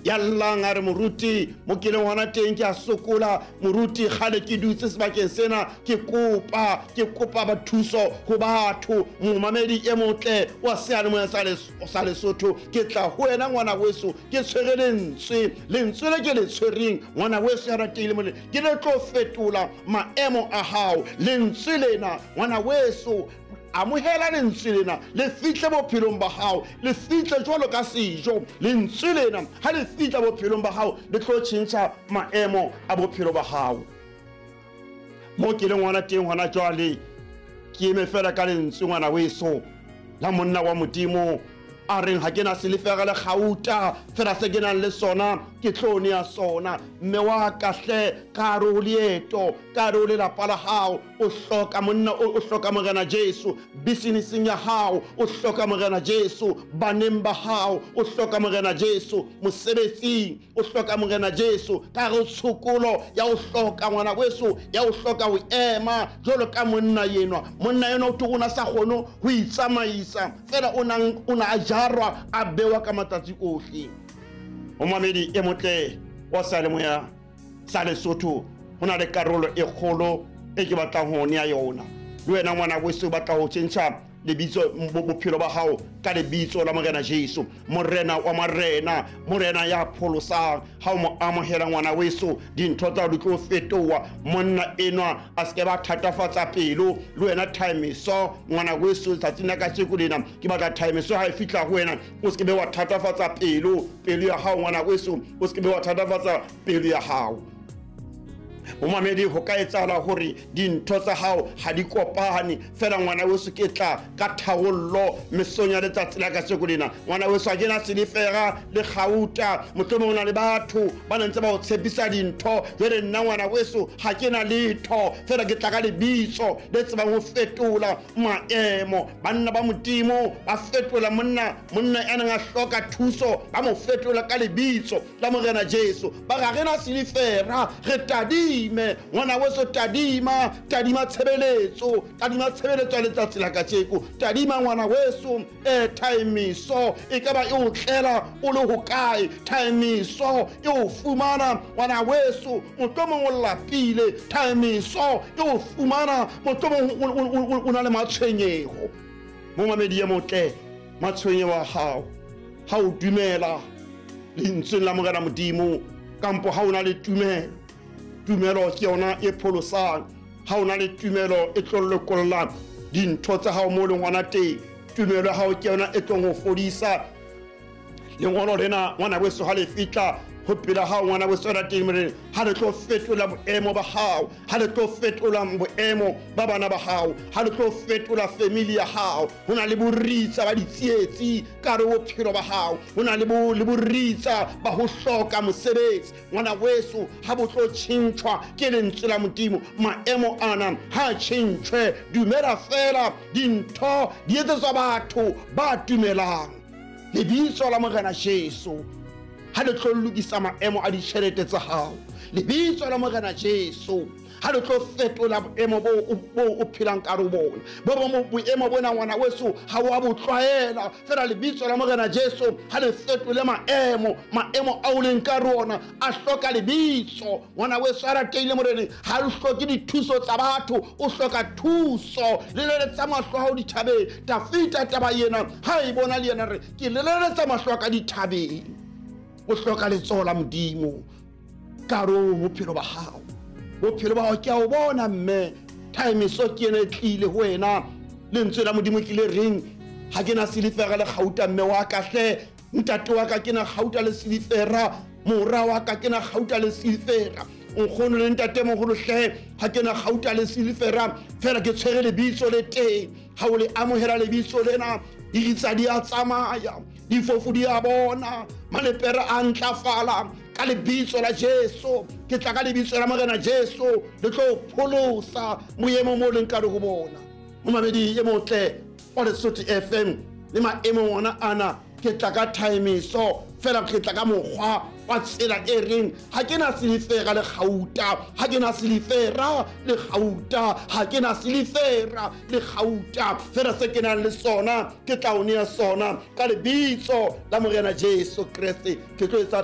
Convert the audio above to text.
Ya llang a re, Moruti, mo ke leng hona teng ke a sokola. Moruti, kgale ke dutse sebakeng sena ke kopa, ke kopa ba thuso ho batho. Momamedi e motle wa seyalemoya sa Lesotho, ke tla ho wena ngwana weso, ke tshwere lentswe. Lentswe le ke le tshwereng ngwana weso ya ratehile mole, ke le tlo fetola maemo a hao. Lentswe lena ngwana weso, amohela lentswe lena, le fihle bophelong ba hao, le fihle jwalo ka sejo. Lentswe lena ha le fihla bophelong ba hao, le tlo tjhentjha maemo a bophelo ba hao. Mo ke leng ngwana teng hona jwale, ke eme fela ka lentswe ngwana weso la monna wa Modimo a reng, ha ke na silifera le kgauta, fela se ke nang le sona ke tlo nea sona. Mme wa ka hle, ka hare ho leeto, ka hare ho lelapa la hao, o hloka monna, o hloka Morena Jesu. Businesseng ya hao, o hloka Morena Jesu. Baneng ba hao, o hloka Morena Jesu. Mosebetsing, o hloka Morena Jesu. Ka hare ho tshokolo ya o hloka ngwana weso, ya o hloka ho ema jwalo ka monna enwa. Monna enwa o thwe o na sa kgone ho itsamaisa, fela o na a jarwa, a bewa ka matsatsi ohle. Momamedi e motle wa seyalemoya sa Lesotho, ho na le karolo e kgolo e ke batlang ho nea yona. Le wena ngwana weso o batla ho tjhentjha lebitso, bophelo ba hao ka lebitso la Morena Jesu, Morena wa marena, Morena ya pholosang. Ha o mo amohela ngwana weso, dintho tsa di tlo fetoha. Monna enwa a se ke ba thatafatsa pelo le wena. Timeso ngwana weso, letsatsing la kajeko lena ke batla timeso ha e fihla ho wena, o se ke be wa thatafatsa pelo ya hao ngwana weso, o se ke be wa thatafatsa pelo ya hao. Momamedi, ho ka etsahala hore dintho tsa hao ha di kopane, fela ngwana weso ke tla ka tharollo mesong ya letsatsi la kajeko lena. Ngwana weso, ha ke na silifera le kgauta, mohlomong o na le batho ba ne ntse ba o tshepisa dintho. Jwale nna ngwana weso ha ke na letho, fela ke tla ka lebitso le tsebang ho fetola maemo. Banna ba Modimo ba fetola monna, monna ya neng a hloka thuso ba mo fetola ka lebitso la Morena Jesu. Ba re, ha re na silifera, re tadime ngwana weso, tadima, tadima tshebeletso, tadima tshebeletso ya letsatsi la kajeko. Tadima ngwana weso, timeso e ka ba e o tlela o le hokae, timeso e o fumana ngwana weso, mohlomong o lapile, timeso e o fumana mohlomong o na le matshwenyeho. Momamedi e motle, matshwenyeho a hao ha o dumela lentsweng la Morena Modimo, kampo ha o na le tumelo, tumelo ke yona e pholosang. Ha o na le tumelo e tlo lokolla dintho tsa hao mo leng hona teng. Tumelo ya hao ke yona e tlong ho fodisa. Lengolo lena ngwana weso ha le fihla ho pela hao ngwana weso ya teng morena, ha le tlo fetola boemo ba hao, ha le tlo fetola boemo ba bana ba hao, ha le tlo fetola family ya hao. Ho na le boritsa ba ditsietsi ka hare ho bophelo ba hao, ho na le boritsa ba ho hloka mosebetsi ngwana weso, ha bo tlo tjhentjhwa ke lentswe la Modimo. Maemo ana ha tjhentjhwe, dumela fela, dintho di etsetswa batho ba dumelang. Lebitso la Morena Jesu ha le tlo lokisa maemo a ditjhelete tsa hao. Lebitso la Morena Jesu ha le tlo fetola boemo bo o phelang ka ho bona. Bo bong boemo bona ngwana weso ha wa bo tlwaela, fela lebitso la Morena Jesu ha le fetole maemo. Maemo ao leng ka rona a hloka lebitso ngwana weso a ratehile Morena. Ha le hloke dithuso tsa batho, o hloka thuso. Leleletsa mahlo a hao dithabeng. Dafita taba ena ha e bona le yena re, ke leleletsa mahlo a ka dithabeng. O hloka letsoho la Modimo ka hare ho bophelo ba hao. Bophelo ba hao ke a o bona mme, timeso ke ena e tlile ho wena. Lentswe la Modimo ke le reng, ha ke na silifera le kgauta mme wa ka hle, ntate wa ka ke na kgauta le silifera, mora wa ka ke na kgauta le silifera, nkgono le ntatemoholo hle, ha ke na kgauta le silifera, fela ke tshwere lebitso le teng. Ha o le amohela lebitso lena, diritsa di a tsamaya, difofu di a bona, malepere a ntlafala ka lebitso la Jesu. Ke tla ka lebitso la Morena Jesu le tlo pholosa boemo mo leng ka ho bona. Momamedi e motle wa Lesotho FM, le maemong ona ana ke tla ka timeso, fela ke tla ka mokgwa wa tsela e reng, ha ke na silifera le kgauta, ha ke na silifera le kgauta, ha ke na silifera le kgauta, fela se ke nang le sona ke tla o nea sona ka lebitso la Morena Jesu Kreste. Ke tlo etsa